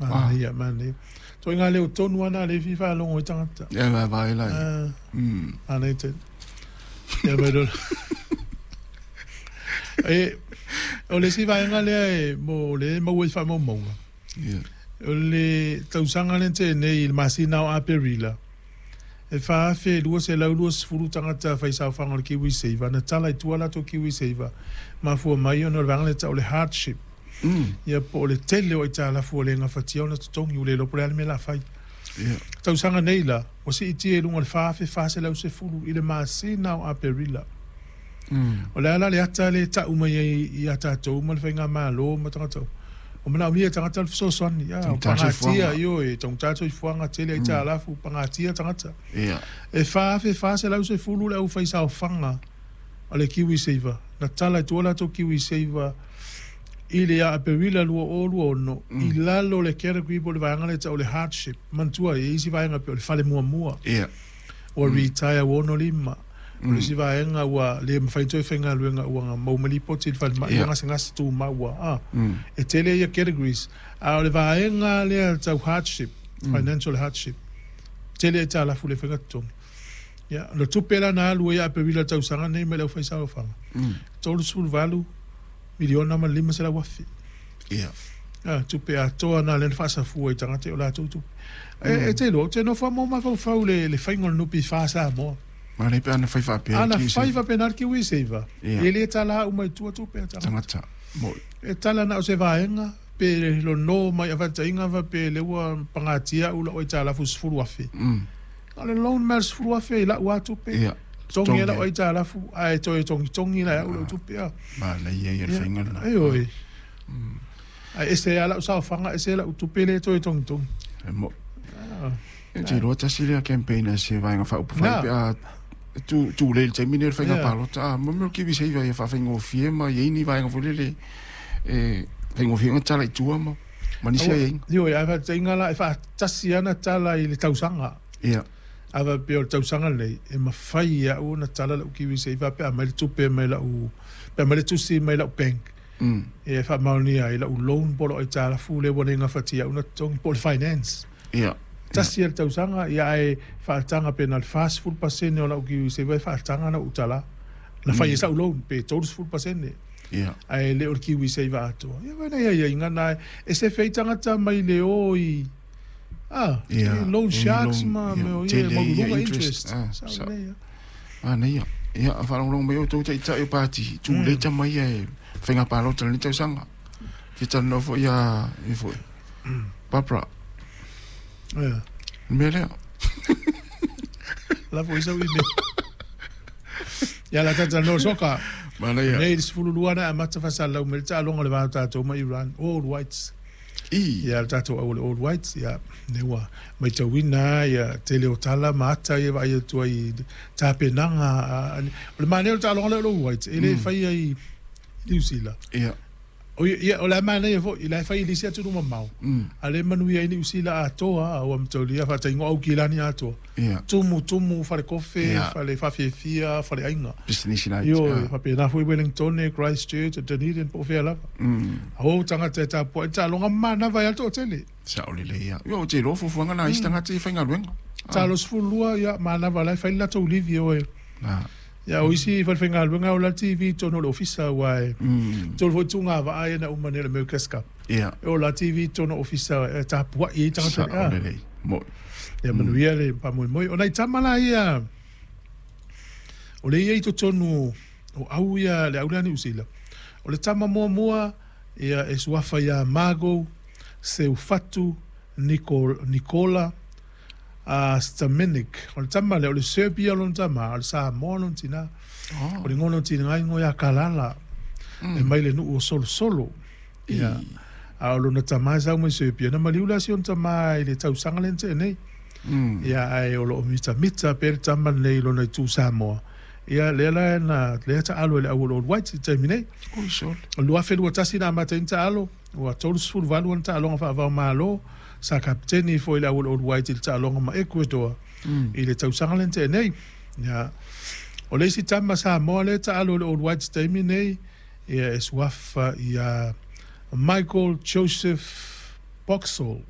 Manaia, manaia. Ituaiga leo tonu lava na lea e fia faalogo ai tagata. Ia vaevae la ia. Manaia tele. Ia mai loa. E, o le isi vaega lea e mo lea e maua i faamaumauga. Ia. O le tausaga lea na tea nei i le masina o Aperila, e 4,220 tagata faisaofaga o le KiwiSaver na tala i tua latou KiwiSaver, mafua mai ona o le vaega lea e tau o le hardship. Ia po o le tele o aitalafu ua le gafatia ona totogi, ua le iloa po o le a le mea o le a fai. Ia. Tausaga nei la, ua siitia i luga o le 4,410 i le masina o Aperila. O le a la le ata lea e tau mai ai ia tatou ma le Faigamalo ma tagata uma, ua manaomia e tagata le fesoasoani. A, ua pagatia, ioe, taugata le soifuaga, tele aitalafu, pagatia tagata. E 4,410 le aufaisaofaga a le KiwiSaver, na tala i tua latou KiwiSaver i le ia Aperila 2026 i lalo o le category po o le vaega lea e tau o le hardship. Manatua, e i ai isi vaega e pei o le fale muamua. Ua retire ua 65, o le isi vaega ua le mafai ona toe faigaluega ua maua mai lipoti i le falemai ua gasegase tumau ua a. E tele ia categories, a o le vaega lea tau hardship, financial hardship, tele aitalafu le faiga totogi. Ia, o le tupe la na alu ai ia Aperila i le tausaga lenei mai le aufaisaofaga, 38 miliona ma le 500 afe. Ia. A, tupe atoa na lea na faasafua i tagata i o latou tupe. E, e te iloa, ou te nofo lava ma ou mafaufau i le, le faiga o le NPF a Samoa. Manaia pe ana fai faapea le Ana fai faapena le KiwiSaver, e le tala uma i tua tupe a tagata. Tagata, moni. E tala na o se vaega, pe lono mai afataiga faapea lea ua pagatia au lau aitalafu 10,000. Na o le loan mai lava le 10,000 i lau lava tupe. Ia. Togi ai lau aitalafu ae toe togitogi la e au lau tupe. Manaia ia le faiga lena. Ioe. Ae ese lava lau saofaga ese lau tupe lea e toe togitogi. E moni. Ou te iloa tasi lea campaign a se Vaega Faaupufai pe a tu tulei i le taimi lenei o le faiga palota. A mo mea o le KiwiSaver ia faafaigofie ma i ai ni vaega foi lele e faigofie ai ona tala i tua ma ma nisi aiaiga. Ioe, ae faataitaiga la, e faatasi lava ona tala i le tausaga. Ia. A faapea o le tausaga lenei, e mafai e au ona tala lau KiwiSaver pe a aumai le tupe mai lau, pe aumai le tusi mai lau bank. E faamaonia ai lau loan po o lau aitalafu lea ua le gafatia au ona totogi po o le finance. Ia. Tasi lava le tausaga, ia ae faataga pe na o le 40% o lau KiwiSaver e faataga ona ou tala. Na fai ai sau loan pe 30%. Ia. Ae le o le KiwiSaver atoa. Ia vaai nai aiaiga na e sefe ai tagata mai le o i a, i loan sharks ma mea o ia e maualuluga interest. Sao lelei lava. Manaia. Ia, a faalogologo mai outou taitai o pati, tulei tama ia e faiga palota i lenei tausaga. Fia talanoa foi ia, ia foi, Barbara. Ia. Le mea lea. La foi sau email. Ia la talanoa soka. Manaia. Nei le 12 na amata faasalalau mai le taaloga o le va o tatou ma Iran, All Whites. I. Ia le tatou au o le All Whites, ia, lea ua matauina lava ia tele o tala ma ata ia e vaai atu ai i tapenaga. O le manaia o le taaloga lea o le All Whites, e le faia i Niu Sila. Ia. Ia, o la e manaia foi, o la e fai i le isi atunuu mamao, a o lea e manuia ai Niu Sila atoa, ua mataulia faataingo Aukilani atoa. Ia. Tumu, tumu, falekofe, Ia. fale faafiafia, faleaiga. Pisinisi laiti. Ioe, faapena foi Wellingtone, Christchurch, Dunedin po o fea lava. O tagata e tapuai taaloga manava ai lava le toatele. Sao lelei lava. Ia, ou te iloa o fuafuaga na a isi tagata ia e faigaluega. Taalo 12, ia, manava o la e fai le latou livi e o e. Ia, o isi falefaigaluega e ola le TV i totonu o le ofisa aua e tolu foi tugavaa ia na uma nei o le America's Cup. Ia. E ola TV i totonu o ofisa e tapuai ai tagata. Sao lelei. Moni. Ia manuia le faamoemoe. O nai tama la ia, o lea e i ai i totonu o au ia, le au lea a Niu Sila, o le tama muamua ia e suafa ia Margo Seufatu Nikola Stamenic. O le tama lea, o le Serbia lona tama, a o le Samoa lona tina. O le igoa o lona tina igoa ia Kalala, e mai le nuu o Solosolo. Ia, a o lona tama e sau mai Serbia. Na maliu la si ona tama i le tausaga lea na tea nei. Ia, ae o lo o mitamita pea le tama lenei i lona itu Samoa. Ia, lea la na, lea taalo e le au o le All Whites i le taimi nei. Oi sole. O le 2021 na amata ai ona taalo, ua 38 ana taaloga faava-o-Malo, sa kapeteni foi le au o le All Whites i le taaloga ma Ecuador i le tausaga lea na tea nei. Ia, o le isi tama Samoa lea e taalo i le All Whites i le taimi nei, Ia e suafa ia Michael Joseph. Boxall.